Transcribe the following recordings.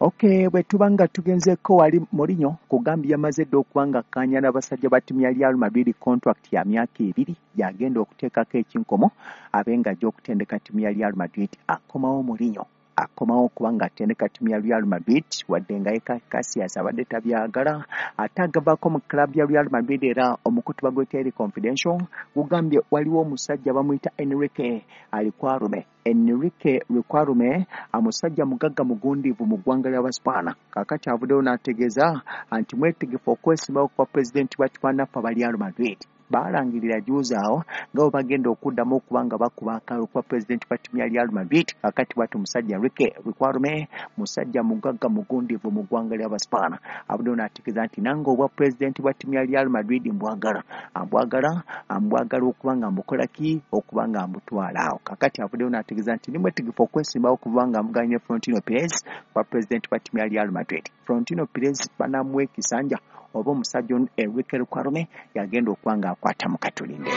Okay, bwe tuba nga tugenzeeko wali Mourinho kugambye yamaze dda okuba nga akkaanya n'abasajja ba ttiimu ya Real Madrid contract ya myaka 2 gy'agenda okuteekako ekinkomo abe ng'ajja okutendeka ttiimu ya Real Madrid. Akomawo Mourinho, akomawo okuba ng'atendeka ttiimu ya Real Madrid wadde nga ye Casillas abadde tabyagala, ate agavaako mu club ya Real Madrid. Era omukutu baguyita Daily Confidential gugambye waliwo omusajja bamuyita Enrique Riquelme. Enrique Riquelme omusajja mugagga mugundiivu mu ggwanga ly'Abaspaana, kaakati avuddeyo n'ategeeza nti mwetegefu okwesimbawo kuba pulezidenti wa ttiimu aba Real Madrid. Baalangirira juzi awo nga bwe bagenda okuddamu okuba nga bakuba akalulu kuba pulezidenti wa ttiimu ya Real Madrid. Kaakati bw'ati omusajja Enrique Riquelme, musajja mugagga mugundiivu mu ggwanga ly'Abaspaana, avuddeyo n'ategeeza nti nange obwa pulezidenti bwa ttiimu ya Real Madrid mbwagala, ambwagala okuba nga mbukola ki, okuba nga mbutwala awo. Kaakati avuddeyo n'ategeeza nti ndi mwetegefu okwesimbawo okuba nga mvuganya ne Florentino Perez kuba pulezidenti wa ttiimu ya Real Madrid. Florentino Perez banamuwa ekisanja oba omusajja ono Enrique Riquelme yagenda okuba ng'akwata mu katulinde.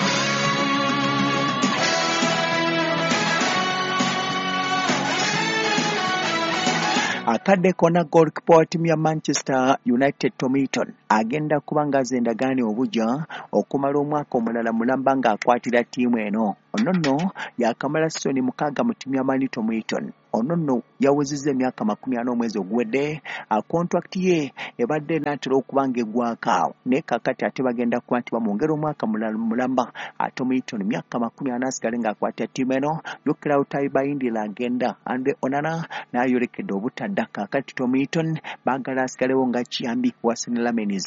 Akadde konna goalkeeper wa ttiimu ya Manchester United Tom Heaton agenda kuba ng'azza endagaano obugya okumala omwaka omulala mulamba ng'akwatira ttiimu eno. Ono nno yakamala sizoni 6 mu ttiimu ya Man U. Tom Heaton ono nno yawezezza emyaka 40 omwezi oguwedde. Kontrakiti ye ebadde enaatera okuba ng'eggwako awo, naye kaakati ate bagenda kuba nti bamwongera omwaka mulamba. Tom Heaton myaka 40 asigale ng'akwatira ttiimu eno. Jjukira Altay Bayindira agenda, Andre Onana n'ayolekedde obutadda. Kaakati Tom Heaton baagala asigalewo nga kiyambi wa Senne Lammens.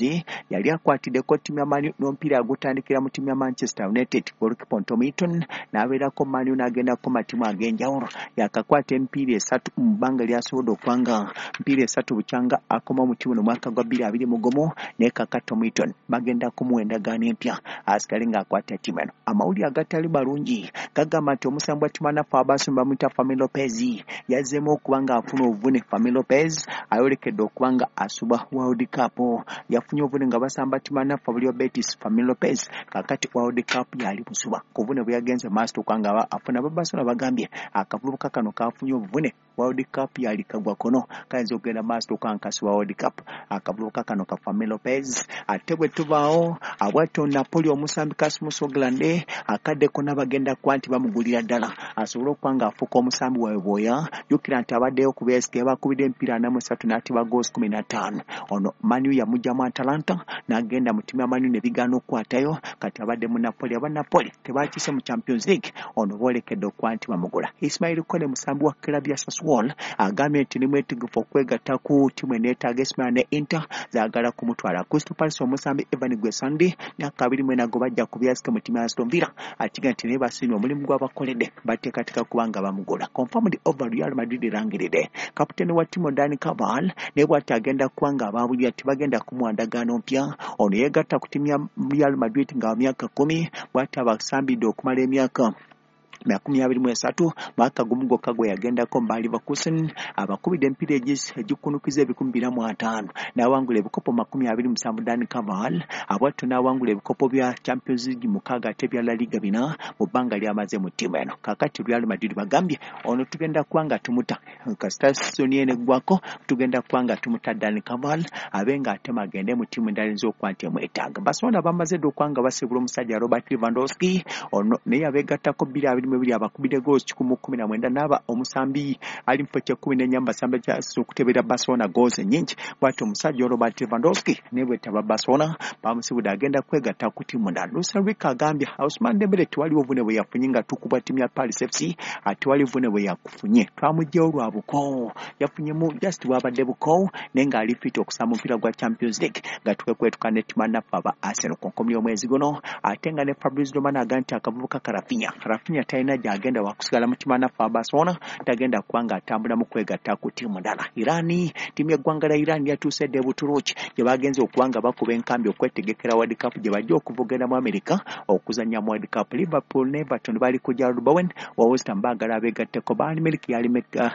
Yali akwatiddeko ttiimu ya Man U n'omupiira agutandikira mu ttiimu ya Manchester United. Goalkeeper Tom Heaton n'abeerako Man U n'agendako matiimu ag'enjawulo, yakakwata emipiira 3 mu bbanga lyasobodde okuba nga mpiira 3 bukyanga akoma mu ttiimu omwaka gwa 2021. Naye kaakati Tom Heaton bagenda kumuwa endagaano empya asigale ng'akwata ttiimu eno. Amawulire agatali malungi gagamba nti omusambi wa ttiimu anaffe Abaasoma bamuyita Fermin Lopez yazzeemu okuba ng'afuna obuvune. Fermin Lopez ayolekedde okuba nga asubwa World Cup, yafunye obuvune nga basamba ttiimu anaffe abali wa Betis. Fermin Lopez kaakati World Cup yali busuba ku buvune bwe yagenze maaso okuba nga afuna. Ababarcelona bagambye akavubuka kano kafunye obuvune, World Cup yali kagwa kono kayinza okugenda maaso okukankasibwa World Cup, akavubuka kano ka Fermin Lopez. Ate bwe tubaawo abwatyo Napoli omusambi Rasmus Hojlund akadde konna bagenda kuba nti bamugulira ddala asobole okuba ng'afuuka omusambi waabwe bwoya. Jjukira nti abaddeyo ku BSK bakubidde emipiira 43 n'ateba goals 15. Ono Man U yamuggyamu Atalanta n'agenda mu ttiimu ya Man U ne bigaana okukwatayo, kati abadde mu Napoli. Aba Napoli tebakiise mu Champions League, ono boolekedde okuba nti bamugula. Ismail Kone musambi wa club ya Sassuolo agambye nti ni mwetegefu okwegatta ku ttiimu eneetaaga Ismail ne Inter zaagala kumutwala. Crystal Palace omusambi Evan Gwesandi myaka 24 gwe bajja ku byasike mu ttiimu ya Aston Villa atiga nti naye basiimye omulimu gw'abakoledde, bateekateeka kuba nga bamugula. Confirmed over Real Madrid erangiridde kapiteeni wa ttiimu Dani Carvajal naye bw'ati agenda kuba nga abaabulira tebagenda kumuwa ndagaano mpya. Ono yeegatta ku ttiimu ya Real Madrid nga myaka 10, bw'ati abasambidde okumala emyaka 23, mwaka gumu gwokka gwe yagendako mu Leverkusen, abakubidde emipiira egikunukiza 450 n'awangula ebikopo 27. Dani Carvajal abwatyo n'awangula ebikopo bya Champions League 6 ate ebya La Liga 4 mu bbanga ly'amaze mu ttiimu eno. Kaakati Real Madrid bagambye ono tugenda kuba nga tumuta kasita sizoni eno eggwako, tugenda kuba nga tumuta Dani Carvajal abe ng'ate agende mu ttiimu endala eyinza okuba nti emwetaaga. Barcelona bamaze dda okuba nga basiibula omusajja Robert Lewandowski, ono naye abeegattako 2022 abakubidde goals 119 n'aba omusambi ali mu kifo kya 14 mu basambi akyasize okutebera Barcelona goals ennyingi. Bw'atyo omusajja Robert Lewandowski naye bwetaba Barcelona bamusibudde agenda kwegatta ku ttiimu ndala. Luis Enrique agambye Ousmane Dembele tewaliwo buvune bwe yafunye nga tukubwa ttiimu ya Paris FC, tewali buvune bwe yakufunye, twamuggyewo lwa bukoowu, yafunyemu just bwabadde bukoowu, naye ng'ali fit okusamba omupiira gwa Champions League nga twekwetuka ne ttiimu naffe aba Arsenal ku nkomi y'omwezi guno. Ate nga ne Fabrizio Romano agambye nti akavubuka ka Raphinha talina gy'agenda, wakusigala mu ttiimu naffe aba Barcelona, tagenda kuba ng'atambula mu kwegatta ku ttiimu ndala. Iran, ttiimu y'eggwanga lya Iran yatuuse dda e Buturuuki gye bagenze okuba nga bakuba enkambi okwetegekera World Cup gye bajja okuvugenda mu America okuzannya mu World Cup. Liverpool ne Everton bali ku Jarrod Bowen wa West Ham, baagala abeegatteko. Bayern Munich yali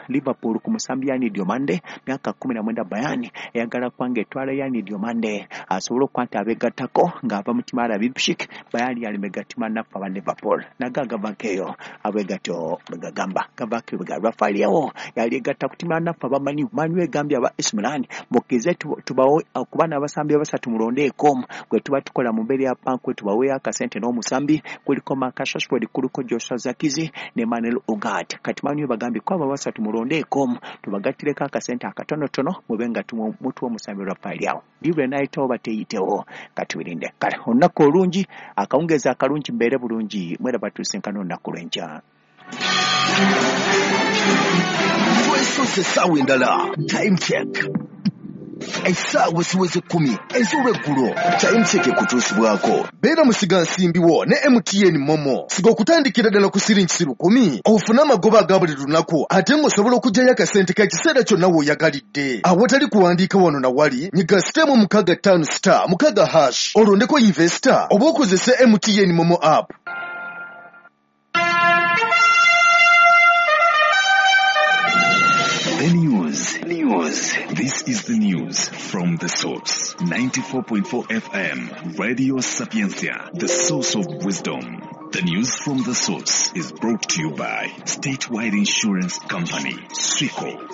Liverpool ku musambi. Yani Diomande, myaka 19. Bayern eyagala kubanga etwala Yani Diomande asobole okuba nti abeegattako ng'ava mu ttiimu ya Leipzig. Bayern yalimegatima naffe aba Liverpool naga gavako eyo abwegatyo bwegagamba gavako bwe Rafael Leao yali egatta ku ttiimu ya naffe aba Man U. Man U egambye aba AC Milan, mukkirize tubawe okuba n'abasambi abasatu, mulondeeko gwe tuba tukola mu mbeera ya pankwe, tubaweeyo akasente n'omusambi. Kuliko Marcus Rashford, kuliko Joshua Zirkzee ne Manuel Ugarte. Kati Man U bagambye ko abo basatu mulondeeko, tubagattireko akasente akatonotono, mube nga mutuwa omusambi Rafael Leao. Libre nayitawo bateyitewo, katubirinde. Kale olunaku olungi, akawungeezi akalungi, mbeere bulungi, mweraba tusinkana olunaku lw'enkya. Twesoose essaawa endala, Time Check, essaawa esiweze 10 ez'olweggulo. Time Check ekutuusibwako beera musigansimbi wo ne MTN MoMo. Siga okutandikira ddala ku siringi 1,000 ofune amagoba aga buli lunaku, ate ng'osobola okuggyayo akasente k'ekiseera kyonna w'oyagalidde awatali kuwandiika wano na wali. Nyiga *656*6# olondeko investor oba okozese MTN MoMo app. The news. News. This is the news from the source. 94.4 FM. Radio Sapientia. The source of wisdom. The news from the source is brought to you by Statewide Insurance Company. SWICO.